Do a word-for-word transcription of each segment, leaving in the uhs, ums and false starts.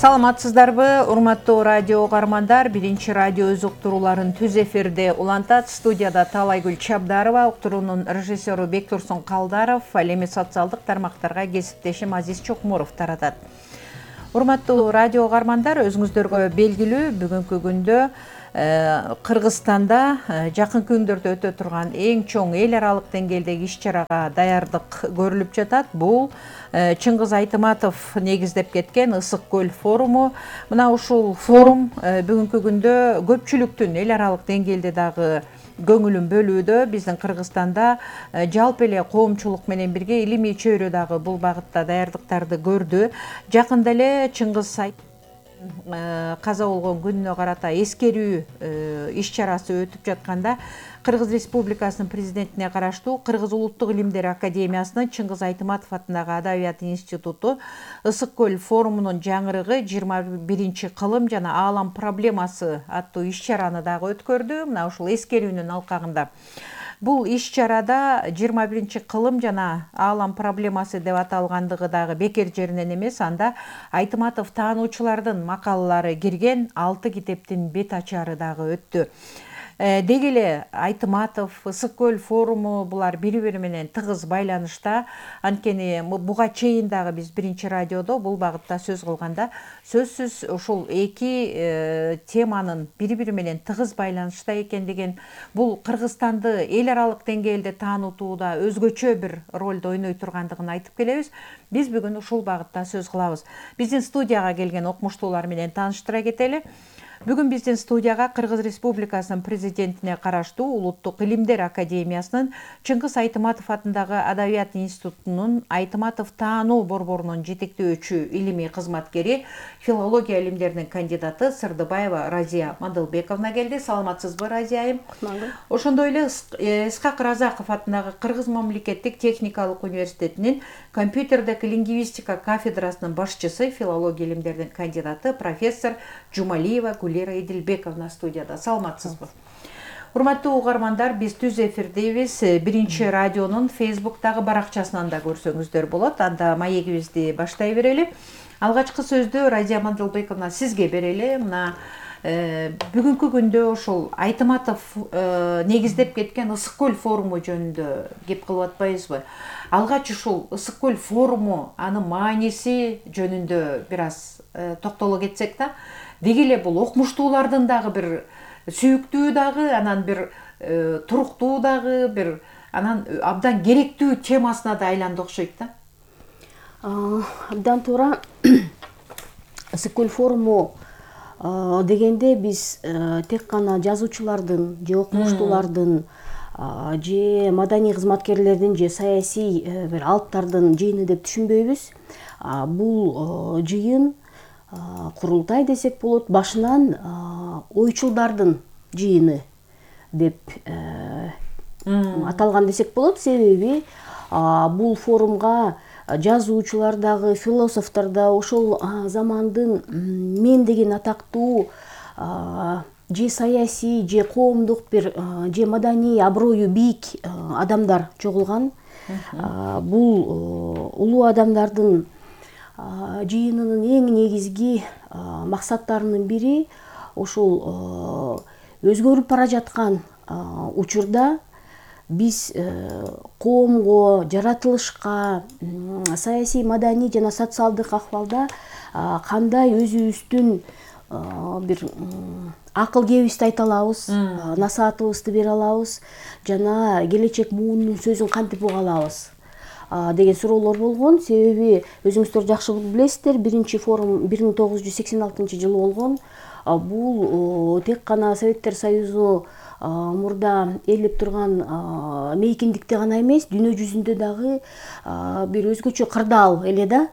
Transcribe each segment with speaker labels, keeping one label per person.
Speaker 1: Саламатсыздарбы, урматтуу радио угармандар. Биринчи радио өз уктурууларын түз эфирде улантат. Студияда Талайгүл Чабдарова, уктуруунун режиссеру Бектурсун Калдаров, ал эми социалдык тармактарга кесиптешим Азиз Чокмуров таратат. Урматтуу радио угармандар, өзүңүздөргө белгилүү, бүгүнкү күндө Кыргызстанда жакынкы күндөрдө өтө турган эң чоң эл аралык деңгээлдеги иш-чарага даярдык көрүлүп жатат. Бул Чыңгыз Айтыматов негиздеп кеткен Ысык көл форуму. Мына ушул форум бүгүнкү күндө көпчүлүктүн эл аралык деңгээлде дагы көңүлүн бөлүүдө. Биздин Кыргызстанда жалпы эле коомчулук менен бирге илимий чөйрө дагы бул багытта даярдыктарды көрдү. Жакында эле Чыңгыз каза болгон күнүнө карата эскерүү иш-чарасы өтүп жатканда Кыргыз Республикасынын президентине караштуу Кыргыз улуттук илимдер академиясынын Чыңгыз Айтыматов атындагы Адабият институту Ысык көл форумунун жаңырыгы жыйырма биринчи кылым жана аалам проблемасы аттуу иш-чараны дагы өткөрдү. Мына ушул эскерүүнүн алкагында бул иш-чарада жыйырма биринчи кылым жана аалам проблемасы деп аталгандыгы дагы бекер жеринен эмес. Анда Айтыматов таануучулардын макалалары кирген алты китептин бет ачары дагы өттү. Деги эле Айтыматов, Ысык көл форуму булар бири-бири менен тыгыз байланышта. Анткени буга чейин дагы биз биринчи радиодо бул багытта сөз кылганда сөзсүз ушул эки теманын бири-бири менен тыгыз байланышта экендигин, бул Кыргызстанды эл аралык деңгээлде таанутууда өзгөчө бир ролду ойной тургандыгын айтып келебиз. Биз бүгүн ушул багытта сөз кылабыз. Биздин студияга келген окумуштуулар менен тааныштыра кетели. Бүгүн биздин студияга Кыргыз Республикасынын президентине караштуу Улуттук илимдер академиясынын Чыңгыз Айтыматов атындагы Адабият институтунун Айтыматов таануу борборунун жетектөөчү илимий кызматкери, филология илимдеринин кандидаты Сырдыбаева Разия Мадылбековна келди. Саламатсызбы, Разия айым? Ошондой эле Исхак Разаков атындагы Кыргыз мамлекеттик техникалык университетинин компьютердик лингвистика кафедрасынын башчысы, филология илимдеринин кандидаты профессор Жумалиева Лера Идилбековна студияда. Саламатсызбы? Урматтуу угармандар, биз түз эфирдебиз. Биринчи радионун Фейсбуктагы баракчасынан да көрсөңүздөр болот. Анда маегибизди баштай берели. Алгачкы сөздү Разия Мадылбековна сизге берели. Мына бүгүнкү күндө ошол Айтыматов негиздеп кеткен Ысык көл форуму жөнүндө кеп кылып атпайбызбы? Алгач ушул Ысык көл форуму, анын мааниси жөнүндө бир аз токтоло кетсек да. Деги эле бул окумуштуулардын дагы бир сүйүктүү дагы, анан бир туруктуу дагы, бир анан абдан керектүү темасына да айланды окшойт да.
Speaker 2: Абдан туура. Ысык көл форуму дегенде биз тек гана жазуучулардын же окумуштуулардын же маданий кызматкерлердин же саясий бир алыптардын жыйыны деп түшүнбөйбүз. Бул жыйын, курултай десек болот, башынан ойчулдардын жыйыны деп аталган десек болот. Себеби бул форумга жазуучулар дагы, философтор да, ошол замандын мен деген атактуу же саясий, же коомдук бир, же маданий аброю бийик адамдар чогулган. Бул улуу адамдардын жыйынынын эң негизги максаттарынын бири ошол өзгөрүп бара жаткан учурда биз коомго, жаратылышка, саясий, маданий жана социалдык акыбалда кандай өзүбүздүн бир акыл кебибизди айта алабыз, насаатыбызды бере алабыз жана келечек муунун сөзүн кантип уга алабыз деген суроолор болгон. Себеби өзүңүздөр жакшы билесиздер, биринчи форум бир миң тогуз жүз сексен алтынчы жылы болгон. Бул тек гана Советтер Союзу мурда ээлеп турган мейкиндикте гана эмес, дүйнө жүзүндө дагы бир өзгөчө кырдаал эле да.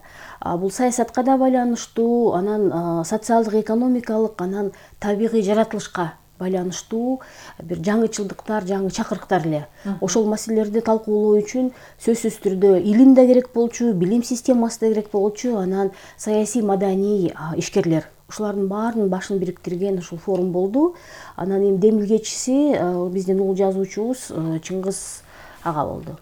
Speaker 2: Бул саясатка да байланыштуу, анан социалдык, экономикалык, анан табигый жаратылышка байланыштуу бир жаңычылдыктар, жаңы чакырыктар эле. Ошол маселелерди талкуулоо үчүн сөзсүз түрдө илим да керек болчу, билим системасы да керек болчу, анан саясий, маданий ишкерлер. Ушулардын баарынын башын бириктирген ушул форум болду. Анан эми демилгечиси биздин улуу жазуучубуз Чыңгыз ага болду.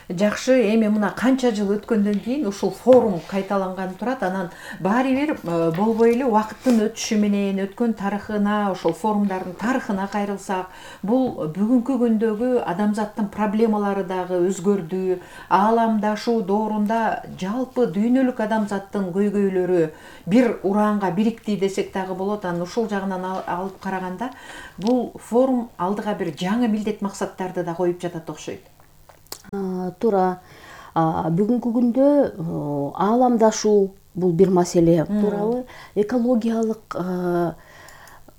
Speaker 1: Жакшы, эми мына канча жыл өткөндөн кийин ушул форум кайталанган турат. Анан баары бир болбой эле убакыттын өтүшү менен өткөн тарыхына, ошол форумдардын тарыхына кайрылсак, бул бүгүнкү күндөгү адамзаттын проблемалары дагы өзгөрдү. Ааламдашуу доорунда жалпы дүйнөлүк адамзаттын көйгөйлөрү бир ураанга бирикти десек дагы болот. Анан ушул жагынан алып караганда бул форум алдыга бир жаңы милдет максаттарды да коюп жатат окшойт.
Speaker 2: Туура. Бүгүнкү күндө ааламдашуу бул бир маселе, туурабы? Экологиялык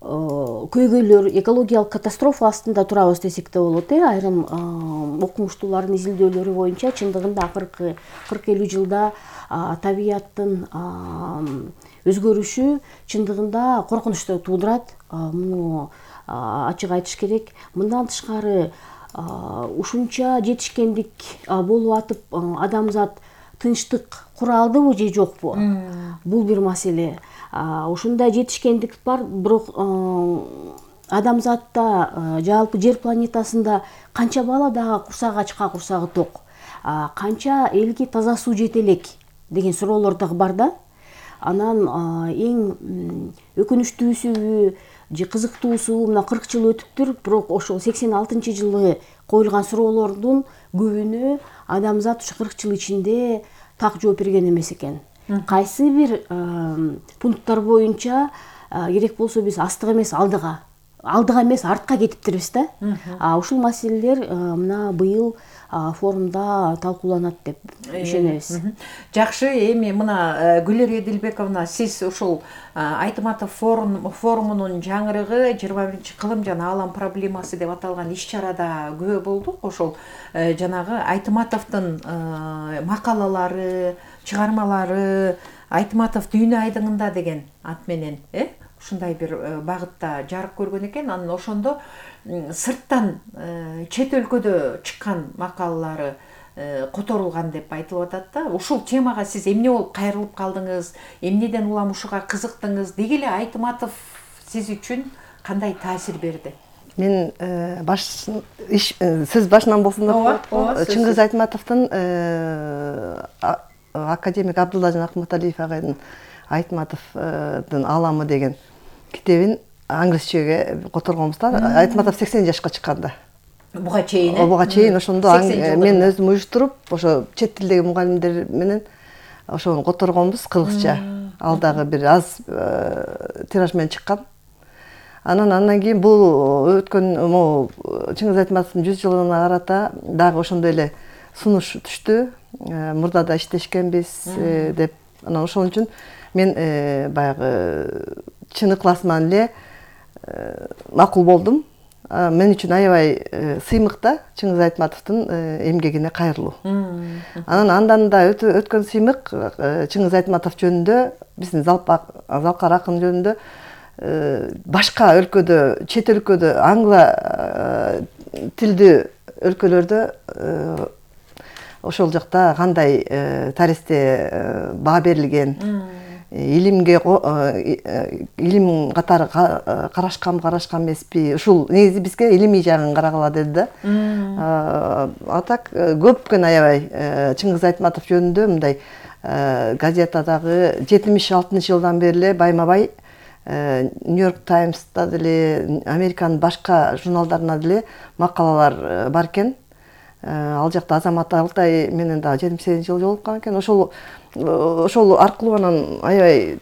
Speaker 2: көйгөйлөр, экологиялык катастрофа астында турабыз десек да болот. Айрым окумуштуулардын изилдөөлөрү боюнча чындыгында акыркы кырк элүү жылда табияттын өзгөрүшү чындыгында коркунучту туудурат. Муну ачык айтыш керек. Мындан тышкары ушунча жетишкендик болуп атып адамзат тынчтык кура алдыбы же жокпу? Бул бир маселе. Ушундай жетишкендик бар, бирок адамзатта жалпы жер планетасында канча бала дагы курсагы ачка, курсагы ток, канча элге таза суу жете элек деген суроолор дагы бар да. Анан эң өкүнүчтүүсү же кызыктуусу мына кырк жыл өтүптүр, бирок ошол сексен алтынчы жылы коюлган суроолордун көбүнө адамзат ушу кырк жыл ичинде так жооп берген эмес экен. Кайсы бир пункттар боюнча керек болсо биз астыга эмес алдыга, алдыга эмес артка кетиптирбиз да. Ушул маселелер мына быйыл форумда талкууланат деп ишенебиз.
Speaker 1: Жакшы, эми мына Гүлер Эдилбековна, сиз ушул Айтматов форумунун жаңырыгы жыйырма биринчи кылым жана аалам проблемасы деп аталган иш-чарада күбө болдук. Ошол жанагы Айтматовдун макалалары, чыгармалары, Айтматов дүйнө айдыңында деген ат менен, э? Ушундай бир багытта жарык көргөн экен. Анан ошондо сырттан чет өлкөдө чыккан макалалары которулган деп айтылып атат да. Ушул темага сиз эмне болуп кайрылып калдыңыз? Эмнеден улам ушуга кызыктыңыз? Деги эле Айтматов сиз үчүн кандай таасир берди?
Speaker 3: Мен баш сөз башынан болсун деп коет. Чыңгыз Айтматовдун академик Абдуллажан Акматалиев агайдын Айтматовдун ааламы деген китебин англисчеге которгонбуз да. Айтматов сексен жашка чыкканда.
Speaker 1: Буга чейин, э?
Speaker 3: Буга чейин ошондо мен өзүм уюштуруп, ошо чет тилдеги мугалимдер менен ошону которгонбуз кыргызча. Ал дагы бир аз тираж менен чыккан. Анан андан кийин бул өткөн могу Чыңгыз Айтматовдун жүз жылына карата дагы ошондой эле сунуш түштү. Мурда да иштешкенбиз деп. Анан ошон үчүн мен баягы чын ыкласыман эле макул болдум. Мен үчүн аябай сыймык да Чыңгыз Айтматовдун эмгегине кайрылуу. Анан андан да өткөн сыймык Чыңгыз Айтматов жөнүндө, биздин Залкар акын жөнүндө башка өлкөдө, чет өлкөдө, англа тилдүү өлкөлөрдө ошол жакта кандай тарихте баа берилген, илимге илим катары карашкан карашкан эмеспи, ушул негизи бизге илимий жагын карагыла деди да. А так көпкөн аябай Чыңгыз Айтматов жөнүндө мындай газетадагы жетимиш алтынчы жылдан бери эле байма-бай Нью-Йорк Таймста деле, Американын башка журналдарына деле макалалар бар экен. Ал жакта Азамат Алтай менен да жетимиш сегизинчи жылы жолуккан экен. Ошол ошол аркылуу анан аябай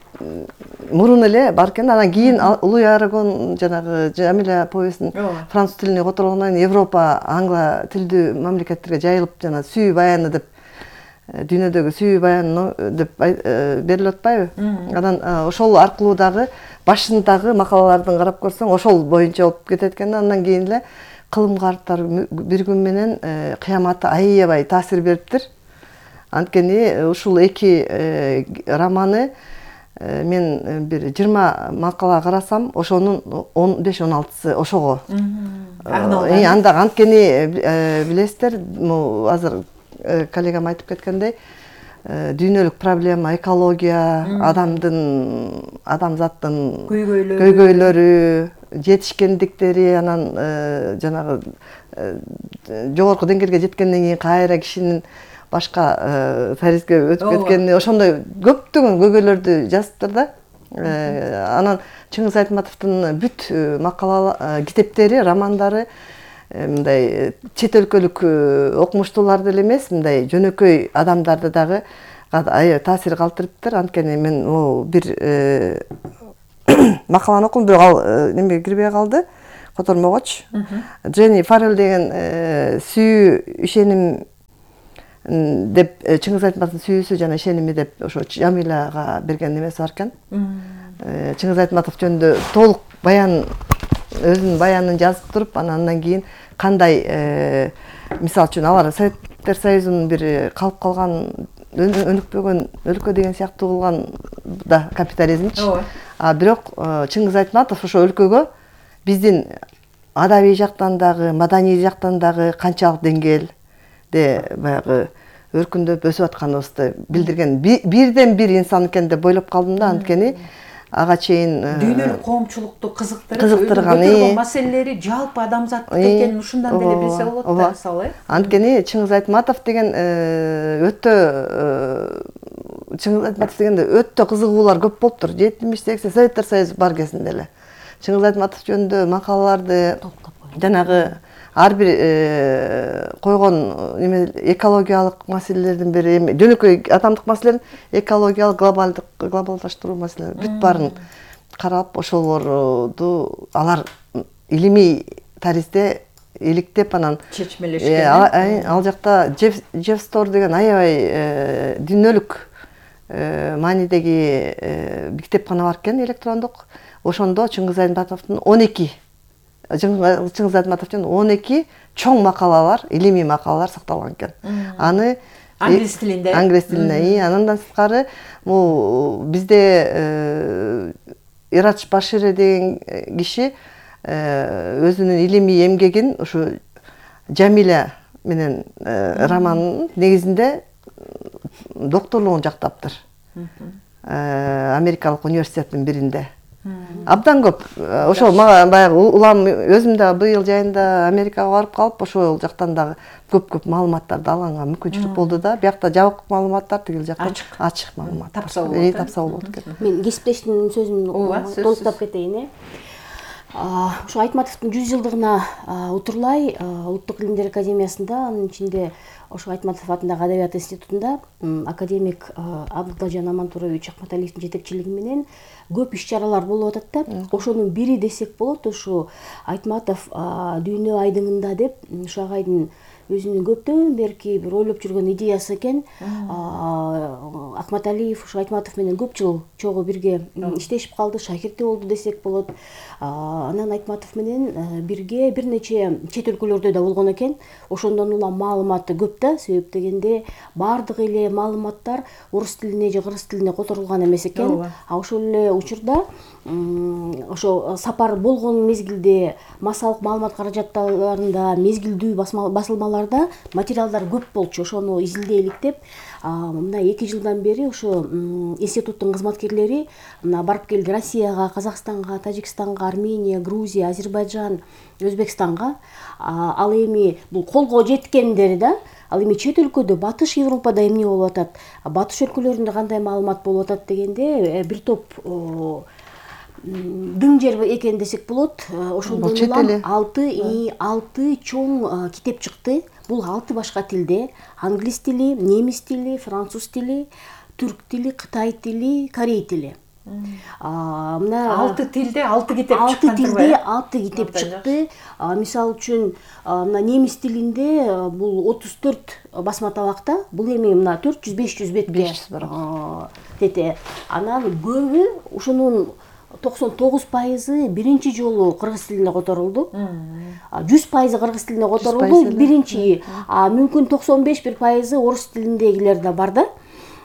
Speaker 3: мурун эле бар экен. Анан кийин Луи Арагон жанагы Жамиля повестин француз тилине которгондон кийин Европа англа тилдүү мамлекеттерге жайылып жана сүйүү баяны деп, дүйнөдөгү сүйүү баяны деп берилип атпайбы? Анан ошол аркылуу дагы башындагы макалалардын карап көрсөң ошол боюнча болуп кетет экен. Андан кийин эле кылым карттар бир күн менен кыяматы аябай таасир бериптир. Анткени ушул эки романы мен бир жыйырма макала карасам, ошонун он беш он алтысы ошого. Анда анткени билесиздер, азыр коллегам айтып кеткендей, дүйнөлүк проблема, экология, адамдын, адамзаттын көйгөйлөрү, жетишкендиктери, анан жанагы жогорку деңгээлге жеткенден кийин кайра кишинин башка тарихке өтүп кеткени ошондой көптөгөн көйгөйлөрдү жазыптыр да. Анан Чыңгыз Айтматовдун бүт макала китептери, романдары мындай чет өлкөлүк окумуштууларды эле эмес, мындай жөнөкөй адамдарды дагы таасир калтырыптыр. Анткени мен могу бир макаланы окудум, бирок ал немеге кирбей калды, котормогоч. Дженни Фаррелл деген сүйүү ишеним деп Чыңгыз Айтматовдун сүйүүсү жана ишеними деп ошо Жамиляга берген немеси бар экен. Чыңгыз Айтматов жөнүндө толук баян, өзүнүн баянын жазып туруп, анан кийин кандай, мисалы үчүн алар Советтер Союзунун бир калып калган, өнүкпөгөн өлкө деген сыяктуу кылган да капитализмчи. А бирок Чыңгыз Айтматов ошо өлкөгө биздин адабий жактан дагы, маданий жактан дагы канчалык деңгээлде баягы өркүндөп өсүп атканыбызды билдирген бирден бир инсан экен деп ойлоп калдым да. Анткени ага чейин
Speaker 1: дүйнөлүк коомчулукту кызыктырып,
Speaker 3: кызыктырган
Speaker 1: көтөргөн маселелери жалпы адамзаттык экенин ушундан деле билсе болот да, мисалы.
Speaker 3: Анткени Чыңгыз Айтматов деген өтө Чыңгыз Айтматов дегенде өтө кызыгуулар көп болуптур. жетимиш сексен Советтер Союзу бар кезинде эле Чыңгыз Айтматов жөнүндө макалаларды, жанагы ар бир койгон неме экологиялык маселелердин бири, жөнөкөй адамдык маселелердин экологиялык, глобалдык, глобалдаштыруу маселелери бүт баарын карап, ошолорду алар илимий тарихте иликтеп анан чечмелешкен. Ал жакта Джефф Стор деген аябай дүйнөлүк маанидеги китепкана бар экен, электрондук. Ошондо Чыңгыз Айтматовдун он эки Чыңгыз Айтматовдун он эки чоң макалалар, илимий макалалар сакталган экен. Аны англис тилинде. Англис тилинде. Андан сырткары бул бизде Ирач Башири деген киши өзүнүн илимий эмгегин ушу Жамиля менен романынын негизинде докторлугун жактаптыр. Америкалык университеттин биринде. Абдан көп. Ошол мага баягы улам өзүм да быйыл жайында Америкага барып калып, ошол жактан дагы көп-көп маалыматтарды алганга мүмкүнчүлүк болду да. Биякта жабык маалыматтар, тигил жакта ачык маалымат.
Speaker 1: Тапса болот.
Speaker 3: Тапса болот экен.
Speaker 2: Мен кесиптештин сөзүн толуктап кетейин. Ушу Айтматовдун жүз жылдыгына утурлай Улуттук илимдер академиясында, анын ичинде ошо Айтматов атындагы Адабият институтунда академик Абдылжан Амантурович Акматалиевдин жетекчилиги менен көп иш-чаралар болуп атат да. Ошонун бири десек болот, ушу Айтматов дүйнө айдыңында деп, ушу агайдын өзүнүн көптөн берки бир ойлоп жүргөн идеясы экен. Акматалиев ушу Айтматов менен көп жыл чогуу бирге иштешип калды, шакирти болду десек болот. Анан Айтматов менен бирге бир нече чет өлкөлөрдө да болгон экен. Ошондон улам маалыматы көп да, себеп дегенде баардык эле маалыматтар орус тилине же кыргыз тилине которулган эмес экен. А ошол эле учурда ошо сапар болгон мезгилде массалык маалымат каражаттарында, мезгилдүү басылмаларда материалдар көп болчу. Ошону изилдейлик деп, мына эки жылдан бери ошо институттун кызматкерлери барып келди Россияга, Казакстанга, Тажикстанга, Армения, Грузия, Азербайджан, Өзбекстанга. Ал эми бул колго жеткендери да. Ал эми чет өлкөдө, Батыш Европада эмне болуп атат, Батыш өлкөлөрүндө кандай маалымат болуп атат дегенде бир топ дың жер экен десек болот. Ошондон улам алты чоң китеп чыкты. Бул алты башка тилде: англис тили, немис тили, француз тили, түрк тили, кытай тили, корей тили. Мына
Speaker 1: алты тилде алты китеп чыккан.
Speaker 2: алты тилде алты китеп чыкты. Мисалы үчүн, мына немис тилинде бул отуз төрт басма табакта. Бул эми мына төрт жүз беш жүз бетке тете. Анан көбү ушунун токсон тогуз пайызы биринчи жолу кыргыз тилине которулду. жүз пайызы кыргыз тилине которулду биринчи. Мүмкүн токсон беш бир пайызы орус тилиндегилер да бар да.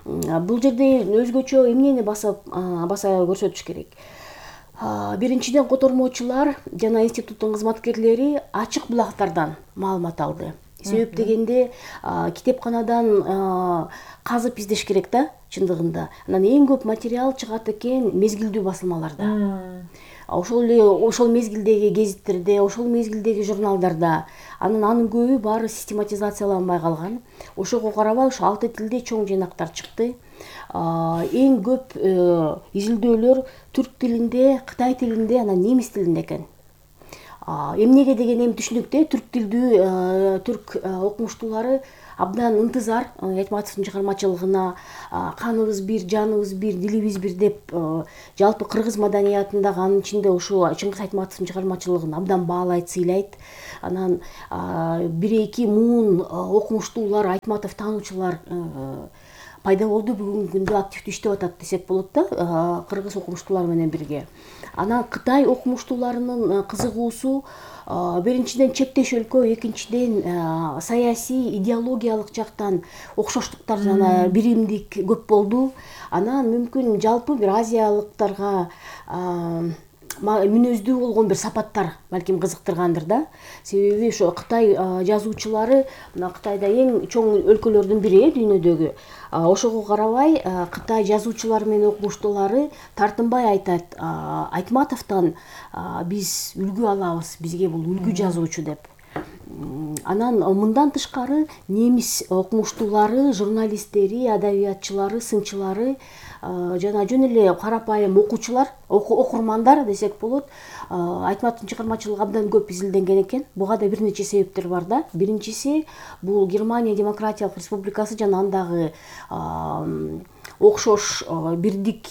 Speaker 2: Бул жерде өзгөчө эмнени баса баса көрсөтүш керек. Биринчиден котормочулар жана институттун кызматкерлери ачык булактардан маалымат алды. Себеп дегенде китепканадан казып издеш керек да, чындыгында. Анан эң көп материал чыгат экен мезгилдүү басылмаларда. ошол эле ошол мезгилдеги гезиттерде, ошол мезгилдеги журналдарда, анан анын көбү баары систематизацияланбай калган. Ошого карабай ушу алты тилде чоң жыйнактар чыкты. Эң көп изилдөөлөр түрк тилинде, кытай тилинде, анан немис тилинде экен. Эмнеге деген эми түшүнүктүү, түрк тилдүү түрк окумуштуулары абдан ынтызар Айтматовдун чыгармачылыгына, каныбыз бир, жаныбыз бир, дилибиз бир деп жалпы кыргыз маданиятындагы, анын ичинде ушу Чыңгыз Айтматовдун чыгармачылыгын абдан баалайт, сыйлайт. Анан бир эки муун окумуштуулар, Айтматов таануучулар пайда болду, бүгүнкү күндө активдүү иштеп атат десек болот да, кыргыз окумуштуулар менен бирге. Анан Кытай окумуштууларынын кызыгуусу биринчиден чектеш өлкө, экинчиден саясий, идеологиялык жактан окшоштуктар жана биримдик көп болду. Анан мүмкүн жалпы бир азиялыктарга мүнөздүү болгон бир сапаттар балким кызыктыргандыр да. Себеби ошо Кытай жазуучулары, мына Кытайда эң чоң өлкөлөрдүн бири дүйнөдөгү. Ошого карабай Кытай жазуучулары менен окумуштуулары тартынбай айтат, Айтматовдон биз үлгү алабыз, бизге бул үлгү жазуучу деп. Анан мындан тышкары немис окумуштуулары, журналисттери, адабиятчылары, сынчылары жана жөн эле карапайым окуучулар, окурмандар десек болот, Айтматовдун чыгармачылыгы абдан көп изилденген экен. Буга да бир нече себептер бар да. Биринчиси бул Германия Демократиялык Республикасы жана андагы окшош бирдик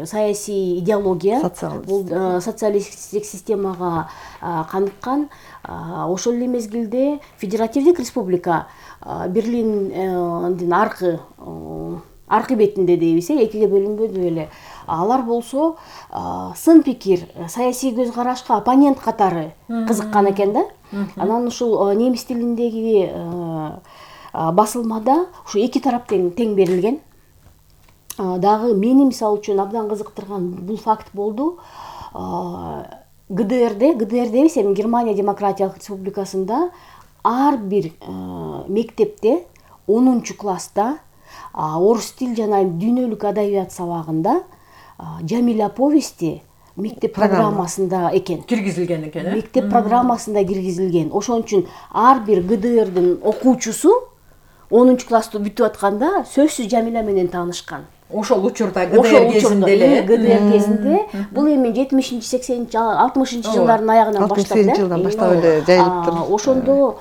Speaker 2: саясий идеология, бул социалисттик системага каныккан. Ошол эле мезгилде Федеративдик Республика Берлиндин аркы аркы бетинде дейбиз, экиге бөлүнбөдү беле. Алар болсо сын пикир, саясий көз карашка оппонент катары кызыккан экен да. Анан ушул немис тилиндеги басылмада ушу эки тарап тең берилген. Дагы мени мисалы үчүн абдан кызыктырган бул факт болду. ГДРде, ГДРдебиз эми Германия Демократиялык Республикасында ар бир мектепте онунчу класста орус тил жана дүйнөлүк адабият сабагында Жамиля повести мектеп программасында экен.
Speaker 1: Киргизилген экен, э?
Speaker 2: Мектеп программасында киргизилген. Ошон үчүн ар бир ГДРдин окуучусу онунчу классту бүтүп атканда сөзсүз Жамиля менен таанышкан.
Speaker 1: Ошол учурда ГДР кезинде эле.
Speaker 2: ГДР кезинде бул эми жетимишинчи, сексенинчи, алтымышынчы жылдардын аягынан баштап,
Speaker 3: алтымыш сегизинчи жылдан баштап эле жайылыптыр.
Speaker 2: Ошондо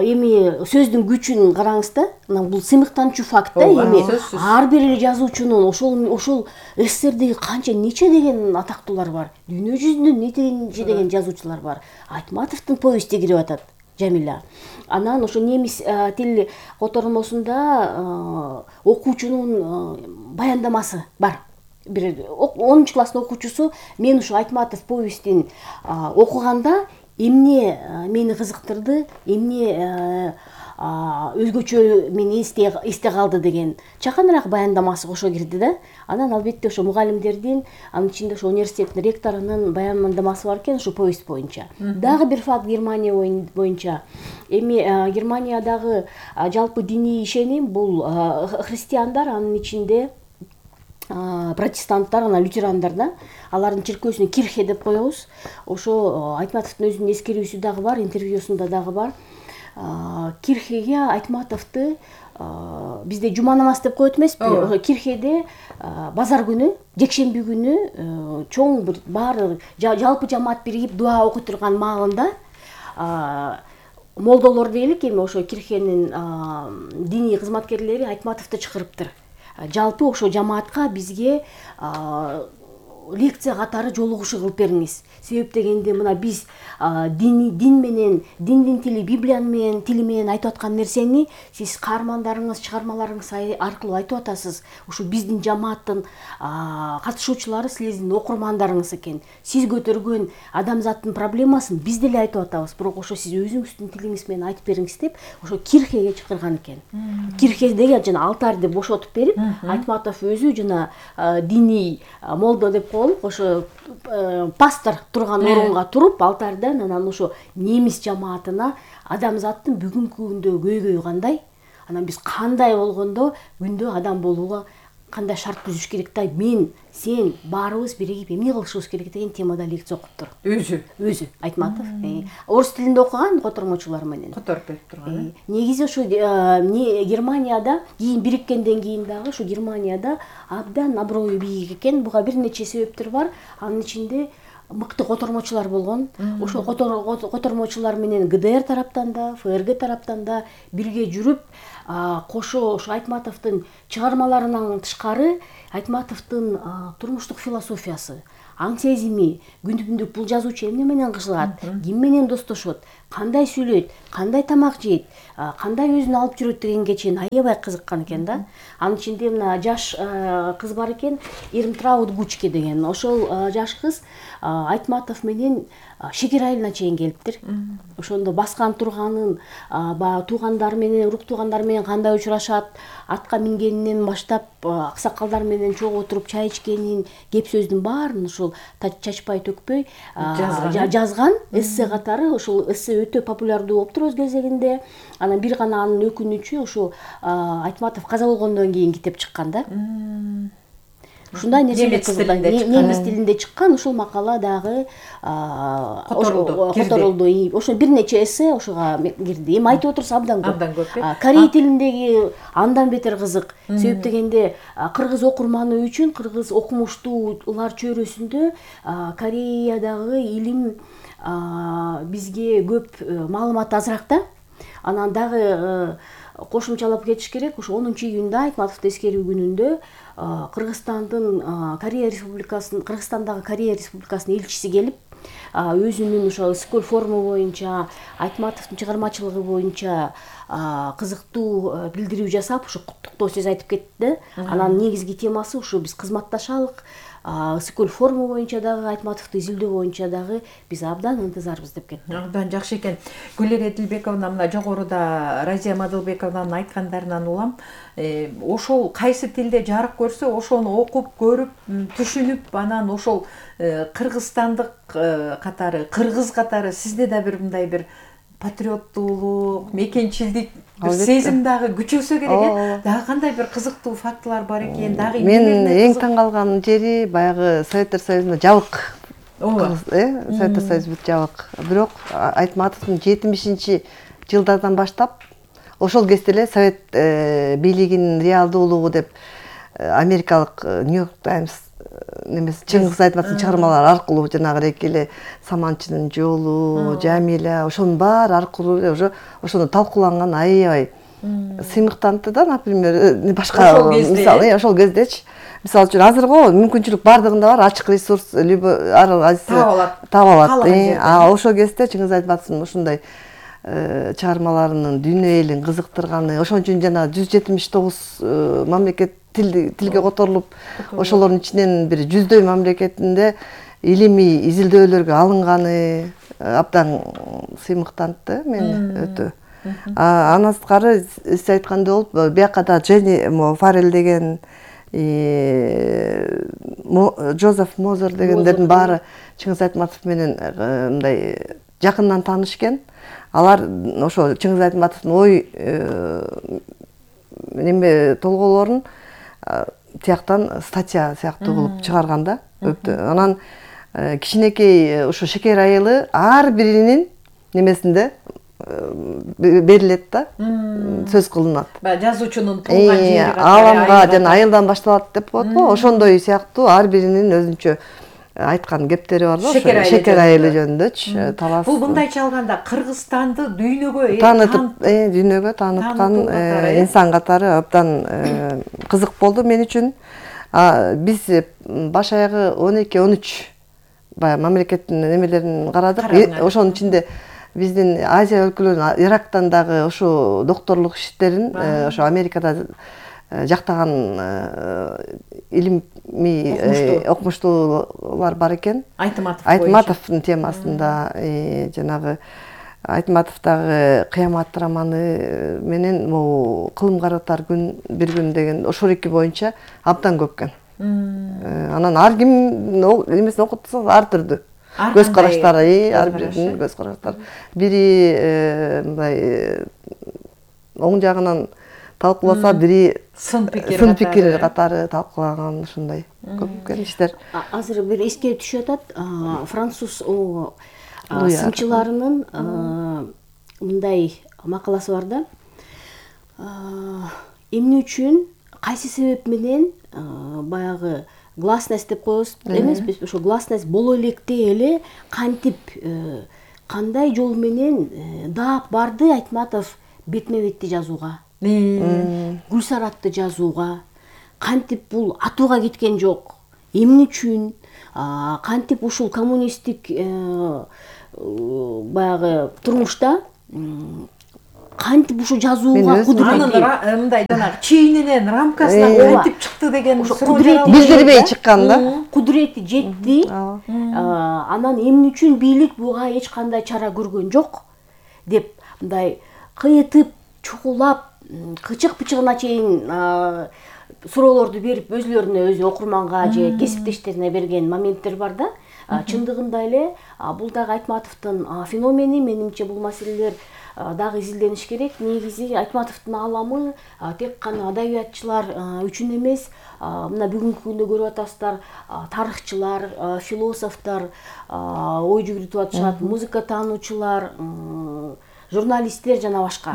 Speaker 2: эми сөздүн күчүн караңыз да. Мына бул сыймыктанчу факт да, эми ар бир эле жазуучунун ошол ошол СССРдеги канча нече деген атактуулар бар. Дүйнө жүзүндө нече деген жазуучулар бар. Айтматовдун повести кирип атат. Жамиля. Анан ошо немис тил котормосунда окуучунун баяндамасы бар. Бир онунчу класстын окуучусу мен ушу Айтматов повестин окуганда эмне мени кызыктырды, эмне өзгөчө мени эсте эсте калды деген чаканыраак баяндамасы кошо кирди да. Анан албетте ошо мугалимдердин, анын ичинде ошо университеттин ректорунун баяндамасы бар экен ошо повесть боюнча. Дагы бир факт Германия боюнча. Эми Германиядагы жалпы диний ишеним бул христиандар, анын ичинде протестанттар, анан лютерандар да. Алардын чиркөөсүн кирхе деп коебуз. Ошо Айтматовдун өзүнүн эскерүүсү дагы бар, интервьюсунда дагы бар. Кирхеге Айтматовду бизде жума намаз деп коет эмеспи? Кирхеде базар күнү, жекшемби күнү чоң бир баары жалпы жамаат биригип дуа окуй турган маалында молдолор дейлик, эми ошо кирхенин диний кызматкерлери Айтматовду чакырыптыр. Жалпы ошо жамаатка бизге лекция катары жолугушуу кылып бериңиз. Себеп дегенде мына биз дин дин менен, диндин тили, Библиянын менен тили менен айтып аткан нерсени сиз каармандарыңыз, чыгармаларыңыз аркылуу айтып атасыз. Ушу биздин жамааттын катышуучулары силердин окурмандарыңыз экен. Сиз көтөргөн адамзаттын проблемасын биз деле айтып атабыз, бирок ошо сиз өзүңүздүн тилиңиз менен айтып бериңиз деп ошо кирхеге чакырган экен. Кирхедеги жана алтарды бошотуп берип, Айтматов өзү жана диний молдо деп ошо пастор турган орунга туруп алтардан анан ошо немис жамаатына адамзаттын бүгүнкү күндө көйгөйү кандай, анан биз кандай болгондо күндө адам болууга кандай шарт түзүш керек да, мен, сен баарыбыз биригип эмне кылышыбыз керек деген темада лекция окуптур.
Speaker 1: Өзү.
Speaker 2: Өзү Айтматов. Орус тилинде окуган котормочулар менен.
Speaker 1: Которуп берип турган.
Speaker 2: Негизи ошо Германияда кийин бириккенден кийин дагы ошо Германияда абдан аброю бийик экен. Буга бир нече себептер бар. Анын ичинде мыкты котормочулар болгон. Ошо котормочулар менен ГДР тараптан да, ФРГ тараптан да бирге жүрүп, кошо ошо Айтматовдун чыгармаларынан тышкары Айтматовдун турмуштук философиясы, аң сезими, күндү-күндүк бул жазуучу эмне менен кылат, ким менен достошот, кандай сүйлөйт, кандай тамак жейт, кандай өзүн алып жүрөт дегенге чейин аябай кызыккан экен да. Анын ичинде мына жаш кыз бар экен, Ирмтрауд Гучке деген. Ошол жаш кыз Айтматов менен Шекер айылына чейин келиптир. Ошондо баскан турганын, баягы туугандар менен, урук туугандар менен кандай учурашат, атка мингенинен баштап аксакалдар менен чогуу отуруп чай ичкенин, кеп сөздүн баарын ошол чачпай төкпөй жазган эссе катары. Ошол эссе өтө популярдуу болуптур өз кезегинде. Анан бир гана анын өкүнүчү ошо Айтматов каза болгондон кийин китеп чыккан да. Ушундай нерселер кызыган. Немис тилинде чыккан ошол макала дагы которулду. Ошо бир нече эссе ошого кирди. Эми айтып отурса абдан көп.
Speaker 1: Абдан көп.
Speaker 2: Корей тилиндеги андан бетер кызык. Себеп дегенде кыргыз окурманы үчүн, кыргыз окумуштуулар чөйрөсүндө Кореядагы илим бизге көп маалымат азыраак да. Анан дагы кошумчалап кетиш керек. Ошо онунчу июнда Айтматовду эскерүү күнүндө Кыргызстандын Корея Республикасынын Кыргызстандагы Корея Республикасынын элчиси келип, өзүнүн ошо Ысыкөл форуму боюнча, Айтматовдун чыгармачылыгы боюнча кызыктуу билдирүү жасап, ошо куттуктоо сөз айтып кетти. Анан негизги темасы ошо биз кызматташалык, Ысыкөл форуму боюнча дагы, Айтматовду изилдөө боюнча дагы биз абдан ынтызарбыз деп кетти.
Speaker 1: Абдан жакшы экен. Гүлер Эдилбековна мына жогоруда Разия Мадылбековнанын айткандарынан улам, ошол кайсы тилде жарык көрсө, ошону окуп, көрүп, түшүнүп, анан ошол кыргызстандык катары, кыргыз катары сизде да бир мындай бир патриоттуулук, мекенчилдик бир сезим дагы күчөсө керек э. Дагы кандай бир кызыктуу фактылар бар экен, дагы
Speaker 3: мен эң таң калган жери баягы Советтер Союзунда жабык. Ооба. Э, Советтер Союзу бүт жабык. Бирок Айтматовдун жетимишинчи жылдардан баштап ошол кезде эле Совет бийлигинин реалдуулугу деп америкалык Нью-Йорк Таймс немесе Чыңгыз Айтматовдун чыгармалары аркылуу жанагы эки эле Саманчынын жолу, Жамиля, ошонун баары аркылуу уже ошону талкууланган аябай сыймыктантты да, например, башка мисалы, ошол кездечи. Мисалы үчүн азыр го мүмкүнчүлүк бардыгында бар, ачык ресурс, либо ар кайсы таап алат. А ошол кезде Чыңгыз Айтматовдун ушундай чыгармаларынын дүйнө элин кызыктырганы, ошон үчүн жана жүз жетимиш тогуз мамлекет тилге которулуп, ошолордун ичинен бир жүздөй мамлекетинде илимий изилдөөлөргө алынганы абдан сыймыктантты мени өтө. Андан сырткары сиз айткандай болуп, бияка да Дженни Фаррелл деген, Джозеф Мозер дегендердин баары Чыңгыз Айтматов менен мындай жакындан тааныш экен. Алар ошо Чыңгыз Айтматовдун ой неме толголорун тияктан статья сыяктуу кылып чыгарган да. Анан кичинекей ошо Шекер айылы ар биринин немесинде берилет да, сөз кылынат.
Speaker 1: Жазуучунун туулган жери
Speaker 3: ааламга жана айылдан башталат деп коет го, ошондой сыяктуу ар биринин өзүнчө айткан кептери бар да, Шекер айылы жөнүндөчү талас.
Speaker 1: Бул мындайча алганда Кыргызстанды дүйнөгө
Speaker 3: таанытып, дүйнөгө тааныткан инсан катары абдан кызык болду мен үчүн. Биз баш аягы он эки он үч баягы мамлекеттин немелерин карадык. Ошонун ичинде биздин Азия өлкөлөрүнүн Ирактан дагы ошо докторлук иштерин ошо Америкада жактаган илимий окумуштуулар бар экен. Айтматовдун темасында жанагы Айтматовдагы Кыямат романы менен могу Кылым каратар күн бир күн деген ошол эки боюнча абдан көп экен. Анан ар ким немесин окутса ар түрдүү көз караштары, ар биринин көз караштары. Бири мындай оң жагынан талкууласа, бири
Speaker 1: сын пикир
Speaker 3: сын пикир катары талкуулаган, ушундай көп иштер.
Speaker 2: Азыр бир эске түшүп атат, француз сынчыларынын мындай макаласы бар да. Эмне үчүн, кайсы себеп менен баягы гласность деп коебуз эмеспи, ошо гласность боло электе эле кантип кандай жол менен даап барды Айтматов бетме-бетти жазууга, Гүлсаратты жазууга, кантип бул атууга кеткен жок, эмне үчүн, кантип ушул коммунисттик баягы турмушта кантип ушу жазууга кудуретти,
Speaker 1: мындай жанагы чейиненен рамкасынан кантип чыкты деген
Speaker 3: билдирбей чыккан да.
Speaker 2: Кудурети жетти. Анан эмне үчүн бийлик буга эч кандай чара көргөн жок деп мындай кыйытып, чукулап, кычык-пычыгына чейин суроолорду берип, өзүлөрүнө өзү окурманга же кесиптештерине берген моменттер бар да. Чындыгында эле бул дагы Айтматовдун феномени, менимче бул маселелер дагы изилдениш керек. Негизи Айтматовдун аламы тек гана адабиятчылар үчүн эмес, мына бүгүнкү күндө көрүп атасыздар, тарыхчылар, философтор ой жүгүртүп атышат, музыка таануучулар, журналисттер жана башка.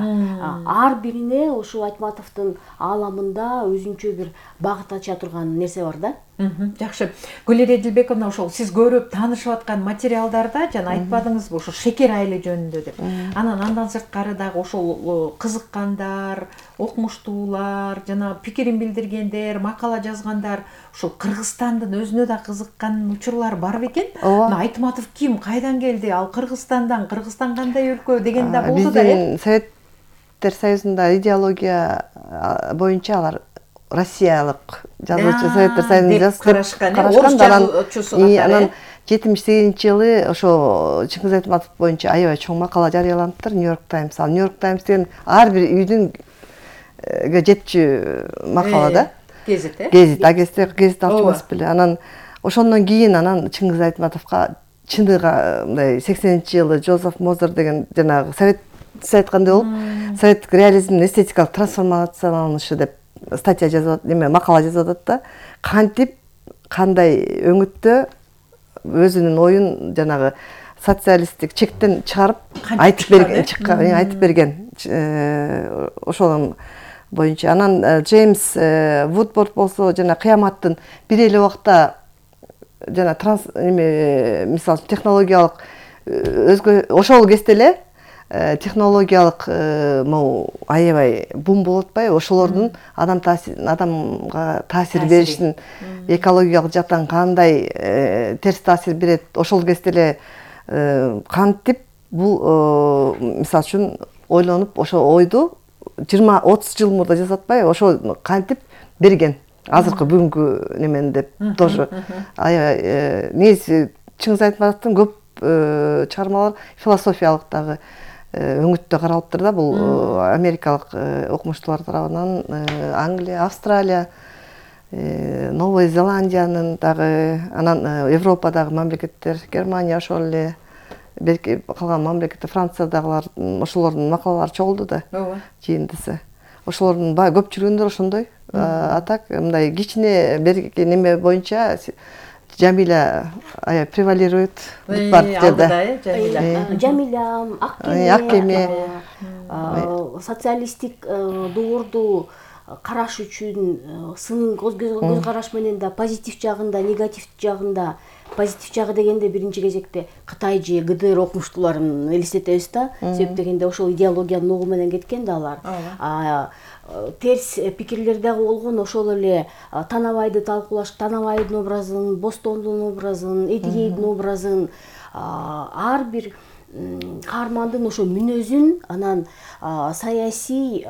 Speaker 2: Ар бирине ошо Айтматовдун ааламында өзүнчө бир багыт ача турган нерсе бар да.
Speaker 1: Жакшы. Гүлира Эдилбековна, ошол сиз көрүп таанышып аткан материалдарда жана айтпадыңызбы ошо шекер айылы жөнүндө деп. Анан андан сырткары дагы ошол кызыккандар, окумуштуулар, жана пикирин билдиргендер, макала жазгандар, ошол Кыргызстандын өзүнө да кызыккан учурлар бар бекен. Айтматов ким, кайдан келди, ал Кыргызстандан, Кыргызстан кандай өлкө деген да болду да.
Speaker 3: Биздин Советтер Союзунда идеология боюнча алар Россиялык жазуучу, Советтер Союзунда жазып
Speaker 1: карашкан, орус жазуучусу катары.
Speaker 3: Анан жетимиш сегизинчи жылы ошо Чыңгыз Айтматов боюнча аябай чоң макала жарыяланыптыр Нью-Йорк Таймс. Ал Нью-Йорк Таймс деген ар бир үйдүн жетчү макала да.
Speaker 1: Гезит, э?
Speaker 3: Гезит, а гезит, гезит алчумас беле. Анан ошондон кийин анан Чыңгыз Айтматовго чындыга мындай сексенинчи жылы Жозеф Мозер деген жанагы совет сиз айткандай болуп, советтик реализмдин эстетикалык трансформацияланышы деп статья жазып, неме макала жазып атат да. Кантип кандай өңүттө өзүнүн оюн жанагы социалисттик чектен чыгарып айтып берген, чыккан, айтып берген. Ошонун боюнча анан Джеймс Вудворд болсо жана кыяматтын бир эле убакта жана транс эме мисалы технологиялык өзгө ошол кезде эле технологиялык могу аябай бум болуп атпайбы? Ошолордун адам таасир адамга таасир беришин, экологиялык жактан кандай терс таасир берет? Ошол кезде эле кантип бул мисалы үчүн ойлонуп, ошо ойду жыйырма отуз жыл мурда жазып атпайбы? Ошо кантип берген? Азыркы бүгүнкү немен деп тоже аябай негизи Чыңгыз Айтматовдун көп чыгармалар философиялык дагы өңүттө каралыптыр да. Бул америкалык окумуштуулар тарабынан Англия, Австралия, Новая Зеландиянын дагы, анан Европадагы мамлекеттер, Германия ошол эле, белки калган мамлекеттер, Франциядагылар, ошолордун макалалары чогулду да. Жыйындысы. Ошолордун баа көп жүргөндөр ошондой. А так мындай кичине берки неме боюнча Жамиля аябай превалирует бар жерде.
Speaker 2: Жамиля, Аккеме, социалисттик доорду караш үчүн сын көз караш менен да позитив жагында, негатив жагында, позитив жагы дегенде биринчи кезекте Кытай же ГДР окумуштууларын элестетебиз да. Себеп дегенде ошол идеологиянын угу менен кеткен да алар. Терс пикирлер дагы болгон, ошол эле Танабайды талкуулаш, Танабайдын образын, Бостондун образын, Эдигейдин образын, ар бир каармандын ошо мүнөзүн, анан саясий,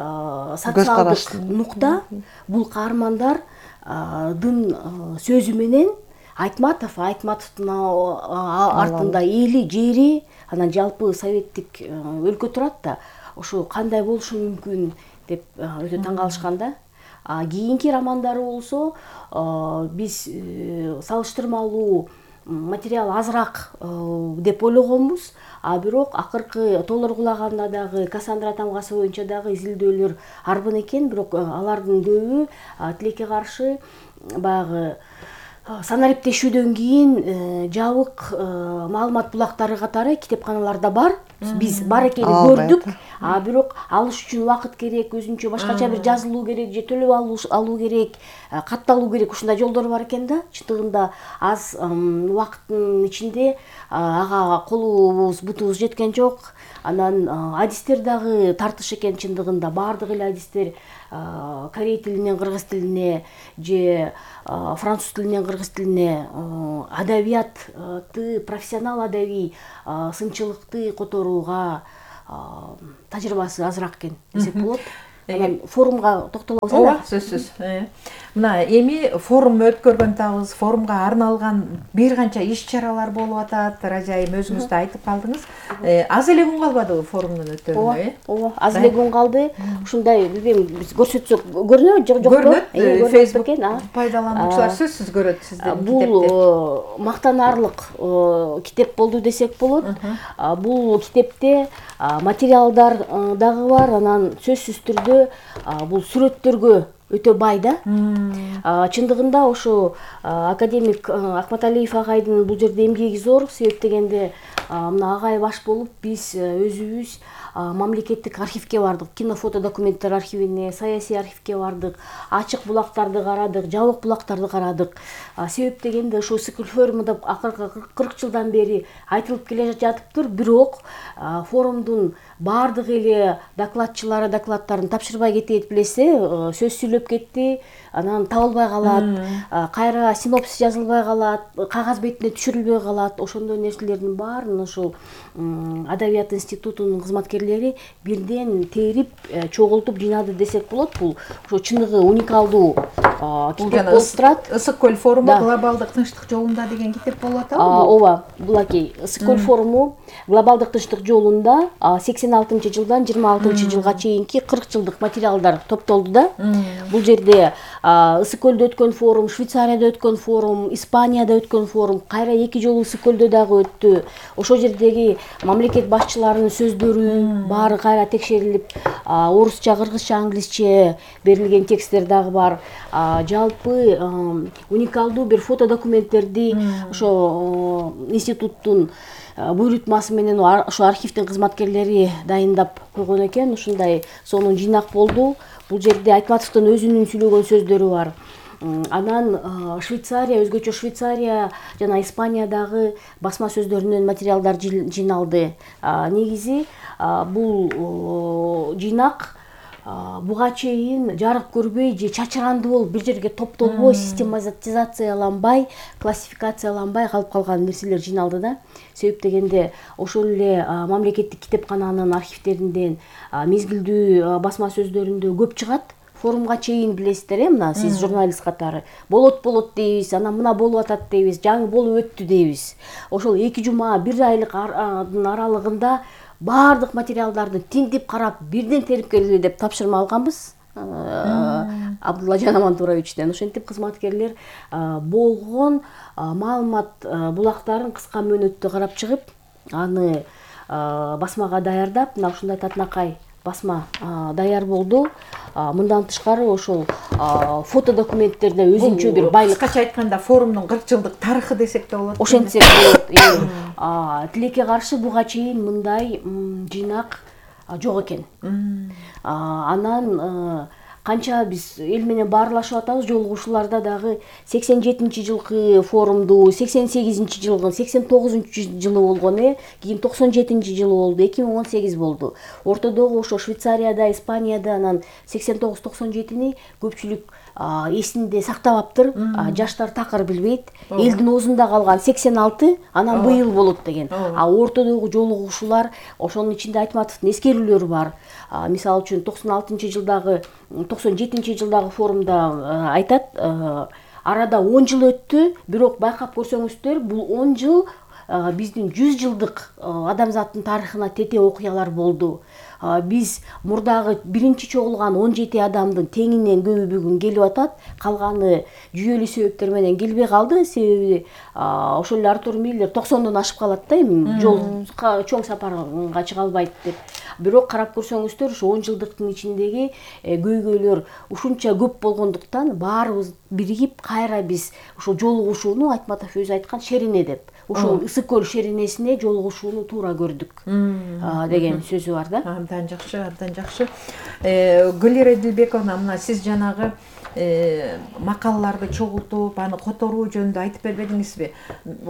Speaker 2: социалдык нукта бул каармандардын сөзү менен Айтматов, Айтматовдун артында эли, жери, анан жалпы советтик өлкө турат да. Ошо кандай болушу мүмкүн деп өтө таң калышкан да. Кийинки романдары болсо биз салыштырмалуу материал азыраак деп ойлогонбуз, а бирок акыркы тоолор кулаганда дагы Кассандра тамгасы боюнча дагы изилдөөлөр арбын экен, бирок алардын көбү тилекке каршы баягы санариптешүүдөн кийин жабык маалымат булактары катары китепканаларда бар. Биз бар экенин көрдүк, а бирок алыш үчүн убакыт керек, өзүнчө башкача бир жазылуу керек же төлөп алуу керек, катталуу керек, ушундай жолдор бар экен да. Чындыгында аз убакыттын ичинде ага колубуз бутубуз жеткен жок. Анан адистер дагы тартыш экен, чындыгында баардык эле адистер корей тилинен кыргыз тилине же француз тилинен кыргыз тилине адабиятты, профессионал адабий сынчылыкты которууга тажрыйбасы азыраак экен десек болот. Анан форумга токтолобуз.
Speaker 1: Ооба, сөзсүз. Мына эми форум өткөргөн атабыз, форумга арналган бир канча иш-чаралар болуп атат. Ражайым өзүңүз да айтып калдыңыз. Аз эле күн калбадыбы форумдун өтүүнө?
Speaker 2: Ооба, аз эле күн калды. Ушундай билбейм, биз көрсөтсөк көрүнөбү же жокпу?
Speaker 1: Көрүнөт. Facebook пайдалануучулар сөзсүз көрөт сиздердин китепти.
Speaker 2: Бул мактанаарлык китеп болду десек болот. Бул китепте материалдар дагы бар, анан сөзсүз түрдө бул сүрөттөргө өтө бай да. Чындыгында ошо академик Акматалиев агайдын бул жерде эмгеги зор, себеп дегенде мына агай баш болуп биз өзүбүз мамлекеттик архивге бардык, кино-фото документтер архивине, саясий архивге бардык, ачык булактарды карадык, жабык булактарды карадык. Себеп дегенде ошо Ысык форумунда акыркы кырк жылдан бери айтылып келе жатыптыр, бирок форумдун баардык эле докладчылары докладдарын тапшырбай кетет, билесе, сөз сүйлөп кетти, анан табылбай калат, кайра синопсис жазылбай калат, кагаз бетине түшүрүлбөй калат. Ошондой нерселердин баарын ошол Адабият институтунун кызматкерлери бирден терип, чогултуп жыйнады десек болот. Бул ошо чыныгы уникалдуу китеп болуп турат.
Speaker 1: Ысык көл форуму глобалдык тынчтык жолунда деген китеп болуп атабы?
Speaker 2: Ооба, булакей. Ысык көл форуму глобалдык тынчтык жолунда сексен алтынчы жылдан жыйырма алтынчы жылга чейинки кырк жылдык материалдар топтолду да. Бул жерде Ысык көлдө өткөн форум, Швейцарияда өткөн форум, Испанияда өткөн форум, кайра эки жолу Ысык көлдө дагы өттү. Ошол жердеги мамлекет башчыларынын сөздөрү баары кайра текшерилип, орусча, кыргызча, англисче берилген тексттер дагы бар. Жалпы уникалдуу бир фото документтерди ошо институттун буйрутмасы менен ошо архивдин кызматкерлери дайындап койгон экен. Ушундай сонун жыйнак болду. Бул жерде Айтматовдун өзүнүн сүйлөгөн сөздөрү бар. Анан Швейцария, өзгөчө Швейцария жана Испаниядагы басма сөздөрүнөн материалдар жыйналды. Негизи бул жыйнак буга чейин жарык көрбөй же чачырандуу болуп бир жерге топтолбой, систематизацияланбай, классификацияланбай калып калган нерселер жыйналды да. Себеп дегенде ошол эле мамлекеттик китепкананын архивдеринден мезгилдүү басма сөздөрүндө көп чыгат. Форумга чейин билесиздер, мына сиз журналист катары болот болот дейбиз, анан мына болуп атат дейбиз, жаңы болуп өттү дейбиз. Ошол эки жума, бир айлыктын аралыгында баардык материалдарды тинтип карап, бирден терип келгиле деп тапшырма алганбыз Абдуллажан Амантуровичтен. Ошентип кызматкерлер болгон маалымат булактарын кыска мөөнөттө карап чыгып, аны басмага даярдап, мына ушундай татынакай басма даяр болду. Мындан тышкары ошол фото документтерде өзүнчө бир байлык.
Speaker 1: Кыскача айтканда форумдун кырк жылдык тарыхы десек да болот.
Speaker 2: Ошентсек болот. Тилекке каршы буга чейин мындай жыйнак жок экен. Анан канча биз эл менен баарлашып атабыз, жолугушууларда дагы сексен жетинчи жылкы форумду, сексен сегизинчи жылкы, сексен тогузунчу жылы болгон, э, кийин токсон жетинчи жылы болду, эки миң он сегиз болду. Ортодогу ошо Швейцарияда, Испанияда анан сексен тогуз токсон жетини көпчүлүк эсинде сактабаптыр. Жаштар такыр билбейт. Элдин оозунда калган сексен алты, анан быйыл болот деген. А ортодогу жолугушуулар, ошонун ичинде Айтматовдун эскерүүлөрү бар. Мисалы үчүн токсон алтынчы жылдагы, токсон жетинчи жылдагы форумда айтат, арада он жыл өттү, бирок байкап көрсөңүздөр, бул он жыл биздин жүз жылдык адамзаттын тарыхына тете окуялар болду. Биз мурдагы биринчи чогулган он жети адамдын теңинен көбү бүгүн келип атат. Калганы жүйөлүү себептер менен келбей калды. Себеби ошол эле Артур Миллер токсондон ашып калат да, эми жол чоң сапарга чыга албайт деп. Бирок карап көрсөңүздөр, ошо он жылдыктын ичиндеги көйгөйлөр ушунча көп болгондуктан баарыбыз биригип кайра биз ошол жолугушууну Айтматов өзү айткан шерине деп. Ошол ысык көл шеринесине жолугушууну туура көрдүк деген сөзү бар да.
Speaker 1: Абдан жакшы, абдан жакшы. Гүлира Эдилбековна, мына сиз жанагы макалаларды чогултуп, аны которуу жөнүндө айтып бербедиңизби?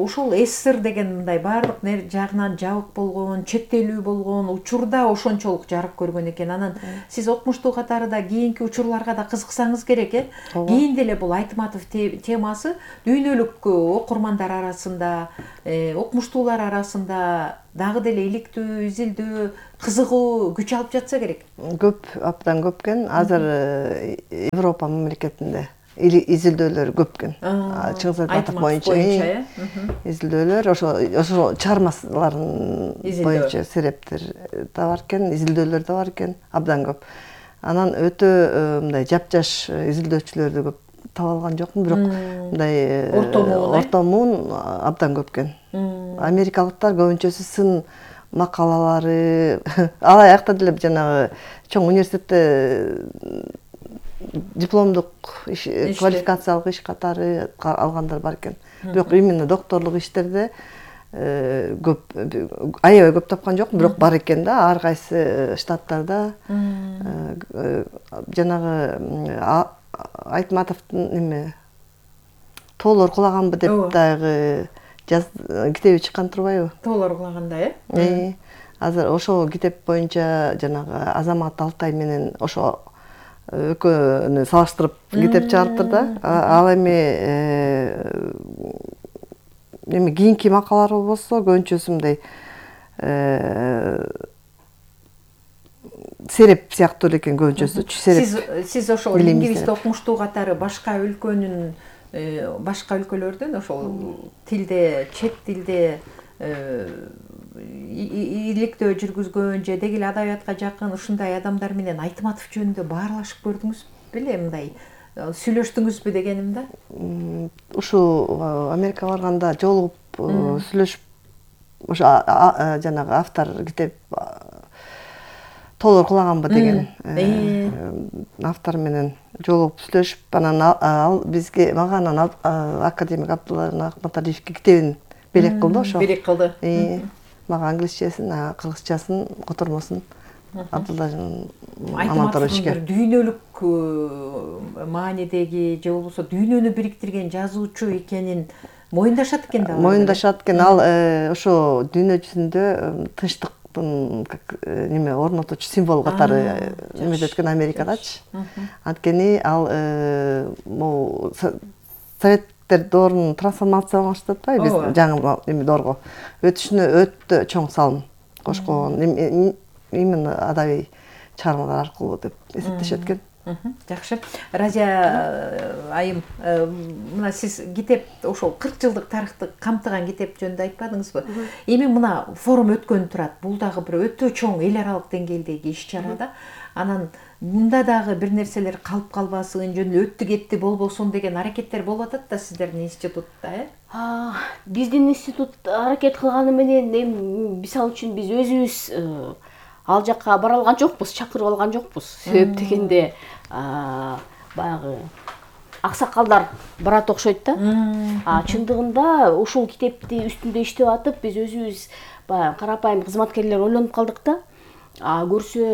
Speaker 1: Ошол СССР деген мындай баардык жагынан жабык болгон, чектелүү болгон учурда ошончолук жарык көргөн экен. Анан сиз окумуштуу катарында кийинки учурларга да кызыксаңыз керек, э? Кийин деле бул Айтматов темасы дүйнөлүк окурмандар арасында, окумуштуулар арасында дагы деле иликтүү, изилдөө, кызыгуу күч алып жатса керек.
Speaker 3: Көп, абдан көп экен. Азыр Европа мамлекетинде изилдөөлөр көп экен. Чыңгыз Айтматов боюнча изилдөөлөр, ошо ошо чыгармаларын боюнча серептер да бар экен, изилдөөлөр да бар экен, абдан көп. Анан өтө мындай жапжаш изилдөөчүлөрдү көп таба алган жокмун, бирок мындай ортомун абдан көп экен. Америкалыктар көбүнчөсү сын макалалары, алаякта деле жанагы чоң университетте дипломдук квалификациялык иш катары алгандар бар экен. Бирок именно докторлук иштерде көп, аябай көп тапкан жокмун, бирок бар экен да, ар кайсы штаттарда. Жанагы Айтматовдун эме тоолор кулаганбы деп дагы китеби чыккан турбайбы?
Speaker 1: Тоолор кулаганда, э?
Speaker 3: Азыр ошол китеп боюнча жанагы Азамат Алтай менен ошо экөөнү салыштырып китеп чыгарыптыр да. Ал эми эми кийинки макалалар болсо көбүнчөсү мындай сереп сыяктуу экен көбүнчөсү.
Speaker 1: Сиз сиз ошол лингвист окумуштуу катары башка өлкөнүн башка өлкөлөрдөн ошол тилде, чет тилде иликтөө жүргүзгөн же деги эле адабиятка жакын ушундай адамдар менен Айтматов жөнүндө баарлашып көрдүңүз беле, мындай сүйлөштүңүзбү дегеним да?
Speaker 3: Ушул Америкага барганда жолугуп сүйлөшүп, ошо жанагы автор китеп тоолор кулаганбы деген автор менен жолугуп сүйлөшүп, анан ал бизге мага анан академик Абдулла Акматалиевке китебин белек кылды ошо.
Speaker 1: Белек кылды.
Speaker 3: Мага англисчесин, кыргызчасын, котормосун Абдулла
Speaker 1: Айтматовдун дүйнөлүк маанидеги же болбосо дүйнөнү бириктирген жазуучу экенин моюндашат экен да.
Speaker 3: Моюндашат экен. Ал ошо дүйнө жүзүндө тынчтык неме орнотуучу символ катары эметет экен Америкадачы. Анткени ал могу Советтер доорунун трансформацияланышты атпайбы, биз жаңы эме доорго өтүшүнө өтө чоң салым кошкон именно адабий чыгармалар аркылуу деп эсептешет экен.
Speaker 1: Жакшы. Разия айым, мына сиз китеп ошол кырк жылдык тарыхты камтыган китеп жөнүндө айтпадыңызбы? Эми мына форум өткөн турат. Бул дагы бир өтө чоң эл аралык деңгээлдеги иш-чара да. Анан мында дагы бир нерселер калып калбасын, жөн өттү кетти болбосун деген аракеттер болуп атат да сиздердин институтта, э?
Speaker 2: Биздин институт аракет кылганы менен мисалы үчүн биз өзүбүз ал жакка бара алган жокпуз, чакырып алган жокпуз. Себеп дегенде баягы аксакалдар барат окшойт да. Чындыгында ушул китепти үстүндө иштеп атып, биз өзүбүз баягы карапайым кызматкерлер ойлонуп калдык да. Көрсө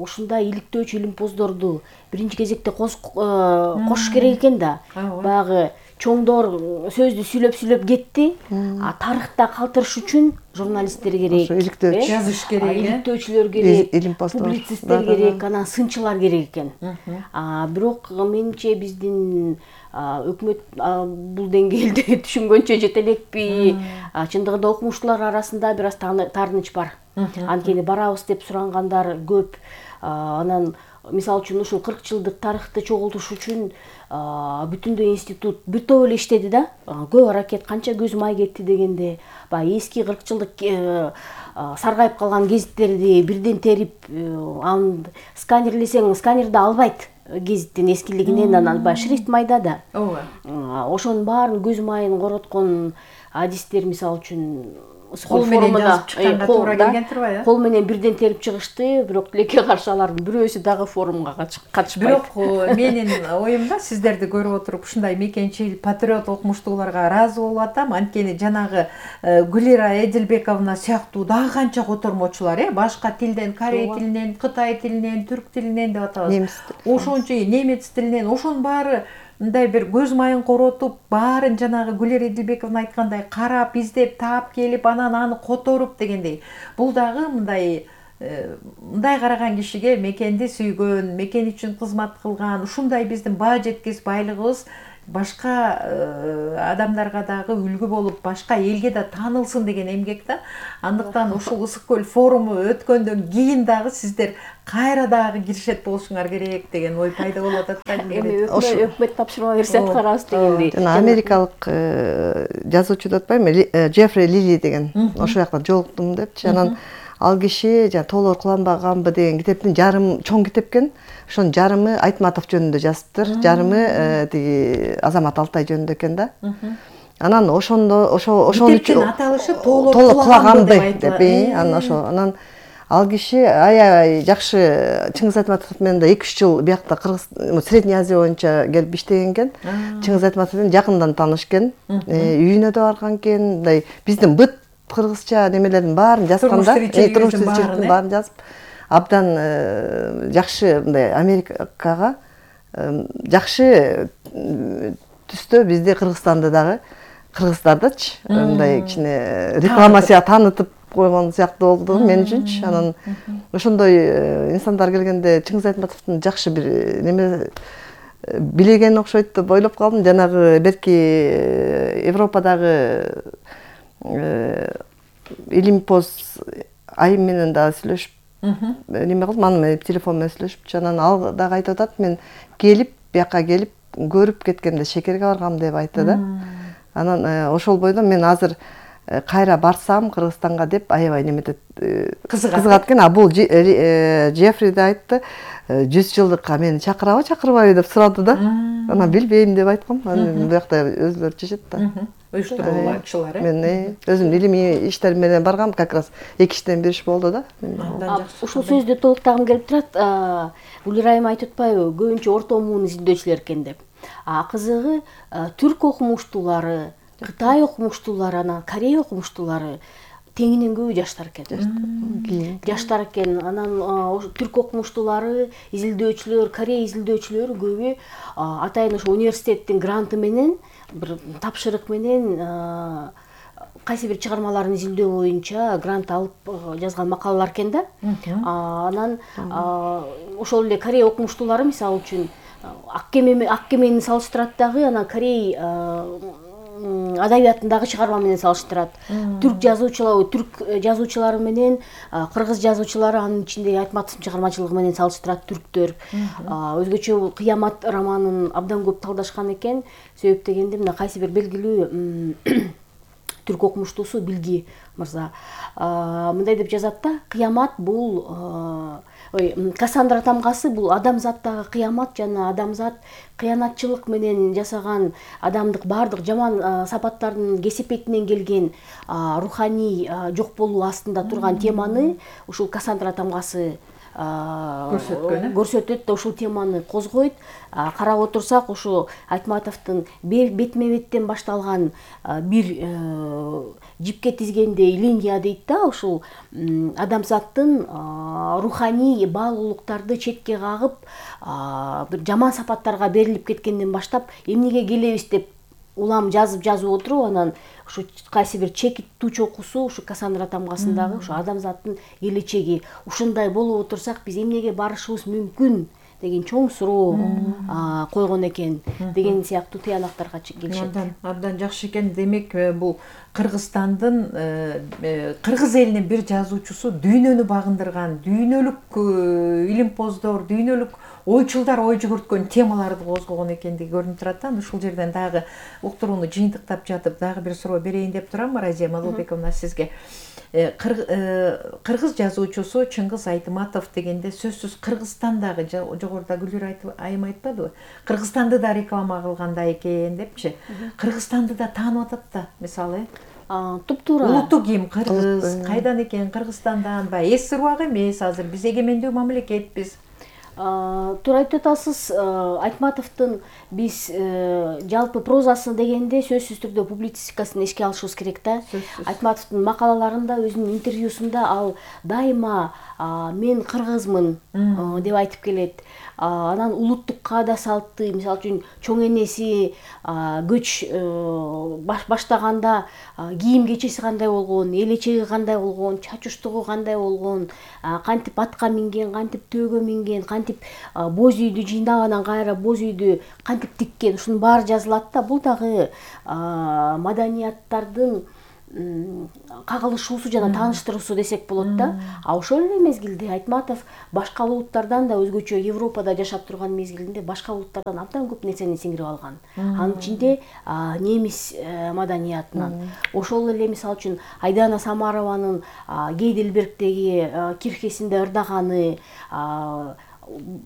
Speaker 2: ушундай иликтөөчү илимпоздорду биринчи кезекте кошуш керек экен да. Баягы чоңдор сөздү сүйлөп-сүйлөп кетти. Тарыхта калтырыш үчүн журналисттер керек,
Speaker 1: жазыш керек,
Speaker 2: иликтөөчүлөр керек, публицисттер керек, анан сынчылар керек экен. Бирок менимче биздин өкмөт бул деңгээлде түшүнгөнчө жете элекпи? Чындыгында окумуштуулар арасында бир аз таарыныч бар. Анткени барабыз деп сурангандар көп. Анан мисалы үчүн ушул кырк жылдык тарыхты чогултуш үчүн бүтүндөй институт бир топ эле иштеди да. Көп аракет, канча көз май кетти дегенде, баягы эски кырк жылдык саргайып калган гезиттерди бирден терип, аны сканерлесең, сканерде албайт гезиттин эскилигинен, анан баягы шрифт майда да. Ооба. Ошонун баарын көз майын короткон адистер, мисалы үчүн
Speaker 1: кол менен жазып чыкканга туура келген турбайбы?
Speaker 2: Кол менен бирден терип чыгышты, бирок тилекке каршы алардын бирөөсү дагы форумга катышпайт.
Speaker 1: Бирок менин оюмда сиздерди көрүп отуруп ушундай мекенчил патриот окумуштууларга ыраазы болуп атам. Анткени жанагы Гүлира Эдилбековна сыяктуу дагы канча котормочулар, э, башка тилден, корей тилинен, кытай тилинен, түрк тилинен деп атабыз. Ошончо немец тилинен, ошонун баары мындай бир көз майын коротуп, баарын жанагы Гүлира Эдилбековна айткандай карап, издеп, таап келип, анан аны которуп дегендей. Бул дагы мындай мындай караган кишиге мекенди сүйгөн, мекен үчүн кызмат кылган, ушундай биздин баа жеткис байлыгыбыз башка адамдарга дагы үлгү болуп, башка элге да таанылсын деген эмгек да. Андыктан ушул Ысык көл форуму өткөндөн кийин дагы сиздер кайра дагы киришет болушуңар керек деген ой пайда болуп атат да.
Speaker 2: Эми өкмөт тапшырма берсе аткарабыз дегендей.
Speaker 3: Жана америкалык жазуучу деп атпаймынбы, Джеффри Лили деген, ошол жакта жолуктум депчи. Анан ал киши жана Тоолор куланбаганбы деген китептин жарым чоң китеп экен. Ошонун жарымы Айтматов жөнүндө жазыптыр, жарымы тиги Азамат Алтай жөнүндө экен да. Анан ошондо ошо ошон үчүн
Speaker 1: аталышы Тоолор кулаганбы
Speaker 3: деп, анан ошо анан ал киши аябай жакшы Чыңгыз Айтматов менен да эки үч жыл биякта Кыргыз, Средний Азия боюнча келип иштеген экен. Чыңгыз Айтматов менен жакындан таанышкен, үйүнө да барган экен, мындай биздин быт кыргызча немелердин баарын жазган да, турмуш тиричиликтин баарын жазып, абдан жакшы мындай Америкага жакшы түстө бизде Кыргызстанда дагы кыргыздардычы мындай кичине рекламация таанытып койгон сыяктуу болду мен үчүнчү. Анан ошондой инсандар келгенде Чыңгыз Айтматовдун жакшы бир неме билеген окшойт деп ойлоп калдым. Жанагы берки Европадагы Илимпоз айым менен да сүйлөшүп неме кылдым, аны менен телефон менен сүйлөшүп, анан ал дагы айтып атат, мен келип бияка келип көрүп кеткенде шекерге баргам деп айтты да. Анан ошол бойдон мен азыр кайра барсам Кыргызстанга деп аябай неметет, кызыгат экен. А бул Джеффри да айтты, жүз жылдыкка мени чакырабы чакырбайбы деп сурады да. Анан билбейм деп айткам. Анан бuyakta өзүлөрү чечет да.
Speaker 1: Уюштурула кишилер.
Speaker 3: Мен өзүм илимий иштерим менен баргам, как раз эки иштен бир иш болду да.
Speaker 2: Ушул сөздү толуктагым келип турат. Гүлира айым айтып атпайбы, көбүнчө орто муун изилдөөчүлөр экен деп. А кызыгы түрк окумуштуулары, Кытай окумуштуулары, анан Корей окумуштуулары теңинен көбү жаштар экен. Жаштар экен. Анан түрк окумуштуулары, изилдөөчүлөр, Корей изилдөөчүлөрү көбү атайын ошо университеттин гранты менен, бир тапшырык менен кайсы бир чыгармаларын изилдөө боюнча грант алып жазган макалалар экен да. Анан ошол эле Корей окумуштуулары мисалы үчүн Ак кемени салыштырат дагы, анан Корей адабиятындагы чыгарма менен салыштырат. Түрк жазуучулары, түрк жазуучулары менен кыргыз жазуучулары, анын ичинде Айтматовдун чыгармачылыгы менен салыштырат түрктөр. Өзгөчө Кыямат романын абдан көп талдашкан экен. Себеп дегенде мына кайсы бир белгилүү түрк окумуштуусу Билги мырза мындай деп жазат да, кыямат бул ой, Кассандра тамгасы бул адамзаттагы кыямат жана адамзат кыянатчылык менен жасаган адамдык бардык жаман сапаттардын кесепетинен келген руханий жок болуу астында турган теманы ушул Кассандра тамгасы көрсөтөт да, ушул теманы козгойт. Карап отурсак, ушу Айтматовдун бетме беттен башталган бир жипке тизгендей линия дейт да, ушул адамзаттын руханий баалуулуктарды четке кагып, бир жаман сапаттарга берилип кеткенден баштап эмнеге келебиз деп улам жазып жазып отуруп, анан ушу кайсы бир чекит туу чокусу ушу Кассандра тамгасындагы ушу адамзаттын келечеги. Ушундай болуп отурсак, биз эмнеге барышыбыз мүмкүн деген чоң суроо койгон экен деген сыяктуу тыянактарга келишет.
Speaker 1: Абдан абдан жакшы экен. Демек бул Кыргызстандын кыргыз элинин бир жазуучусу дүйнөнү багындырган, дүйнөлүк илимпоздор, дүйнөлүк ойчулдар ой жүгүрткөн темаларды козгогон экендиги көрүнүп турат да. Ушул жерден дагы уктурууну жыйынтыктап жатып дагы бир суроо берейин деп турам. Разия Мадылбековна, сизге кыргыз жазуучусу Чыңгыз Айтматов дегенде сөзсүз Кыргызстандагы, жогоруда Гүлнур айым айтпадыбы, Кыргызстанды да реклама кылгандай экен депчи. Кыргызстанды да таанып атат да, мисалы.
Speaker 2: Туп-туура.
Speaker 1: Улуттук ким кыргыз, кайдан экен, Кыргызстандан ба? Эски убак эмес, азыр биз эгемендүү мамлекетпиз.
Speaker 2: Туура айтып атасыз. Айтматовдун биз жалпы прозасы дегенде сөзсүз түрдө публицистикасын эске алышыбыз керек да. Айтматовдун макалаларында, өзүнүн интервьюсунда ал дайыма мен кыргызмын деп айтып келет. Анан улуттук каада салтты, мисалы үчүн чоң энеси көч баштаганда кийим кечеси кандай болгон, элечеги кандай болгон, чач уштугу кандай болгон, кантип атка минген, кантип төөгө минген, кантип боз үйдү жыйнагандан кайра боз үйдү кантип тиккен, ушунун баары жазылат да. Бул дагы маданияттардын кагылышуусу жана тааныштыруусу десек болот да. А ошол эле мезгилде Айтматов башка улуттардан да, өзгөчө Европада жашап турган мезгилинде башка улуттардан абдан көп нерсени сиңирип алган. Анын ичинде немис маданиятынан. Ошол эле мисалы үчүн Айдана Самарованын Гейдельбергдеги кирхесинде ырдаганы,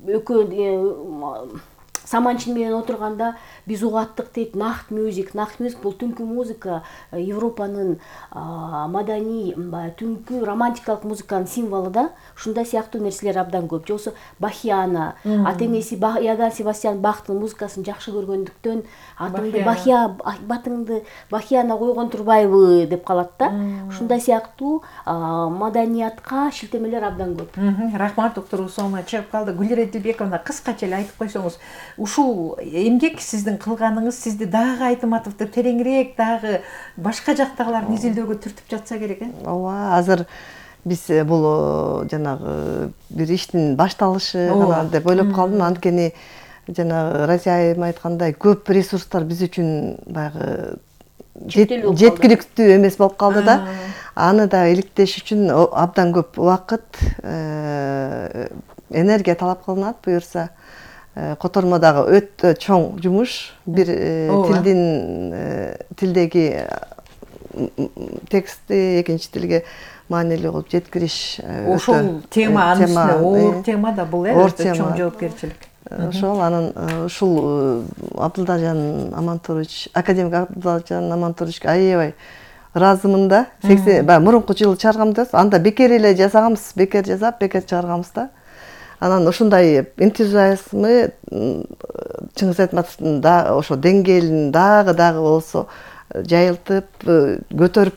Speaker 2: экөө саманчин менен отурганда биз угаттык дейт. Нахт мюзик. Нахт мюзик бул түнкү музыка, Европанын маданий, түнкү романтикалык музыканын символу да. Ушундай сыяктуу нерселер абдан көп. Жосу Бахиана, атеңеси Иоганн Себастьян Бахтын музыкасын жакшы көргөндүктөн атыңды Бахия, батыңды Бахиана койгон турбайбы деп калат да. Ушундай сыяктуу маданиятка шилтемелер абдан көп.
Speaker 1: Рахмат, уктуруу соңуна чыгып калды. Гүлнур Айдилбековна, кыскача эле айтып койсоңуз, ушул эмгек сиздин кылганыңыз сизди дагы Айтматовду тереңирээк, дагы башка жактагыларды изилдөөгө түртүп жатса керек, э?
Speaker 3: Ооба, азыр биз бул жанагы бир иштин башталышы гана деп ойлоп калдым. Анткени жанагы Разия айым айткандай, көп ресурстар биз үчүн баягы жеткиликтүү эмес болуп калды да. Аны да иликтеш үчүн абдан көп убакыт, энергия талап кылынат. Буюрса котормодагы өтө чоң жумуш, бир тилдин тилдеги текстти экинчи тилге маанилүү кылып жеткириш.
Speaker 1: Ошол тема, анын үстүнө оор тема да бул, э, өтө чоң жоопкерчилик.
Speaker 3: Ошол анын ушул Абдылдажан Амантурович, академик Абдылдажан Амантурович аябай ыраазымын да. сексен мурунку жылы чыгарганбыз, анда бекер эле жасаганбыз, бекер жасап, бекер чыгарганбыз да. Анан ушундай энтузиазмы Чыңгыз Айтматовдун да ошо деңгээлин дагы дагы болсо жайылтып, көтөрүп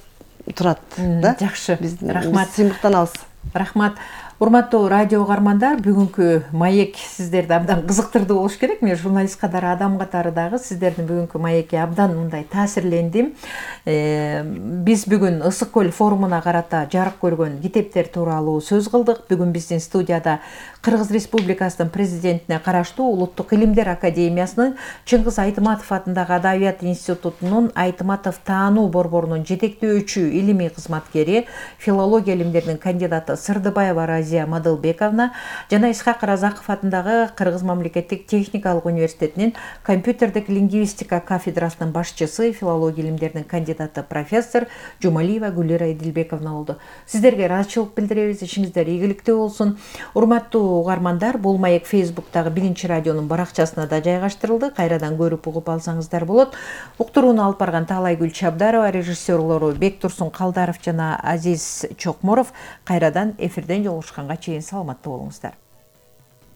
Speaker 3: турат да.
Speaker 1: Жакшы.
Speaker 3: Рахмат. Сыймыктанабыз.
Speaker 1: Рахмат. Урматтуу радио угармандар, бүгүнкү маек сиздерди абдан кызыктырды болуш керек. Мен журналист катары, адам катары дагы сиздердин бүгүнкү маекке абдан мындай таасирлендим. Биз бүгүн Ысык көл форумуна карата жарык көргөн китептер тууралуу сөз кылдык. Бүгүн биздин студияда Кыргыз Республикасынын президентине караштуу Улуттук илимдер академиясынын Чыңгыз Айтматов атындагы Адабият институтунун Айтматов таануу борборунун жетектөөчү илимий кызматкери, филология илимдеринин кандидаты Сырдыбаева Разия Мадылбековна жана Исхак Разаков атындагы Кыргыз мамлекеттик техникалык университетинин компьютердик лингвистика кафедрасынын башчысы, филология илимдеринин кандидаты профессор Жумалиева Гүлнур Айдилбековна болду. Сиздерге ыраазычылык билдиребиз, ишиңиздер ийгиликтүү болсун. Урматтуу угармандар, бул маек Фейсбуктагы Биринчи радионун баракчасына да жайгаштырылды. Кайрадан көрүп угуп алсаңыздар болот. Уктурууну алып барган Таалайгүл Чабдарова, режиссерлору Бектурсун Калдаров жана Азиз Чокморов. Кайрадан эфирден жолугушканга чейин саламатта болуңуздар.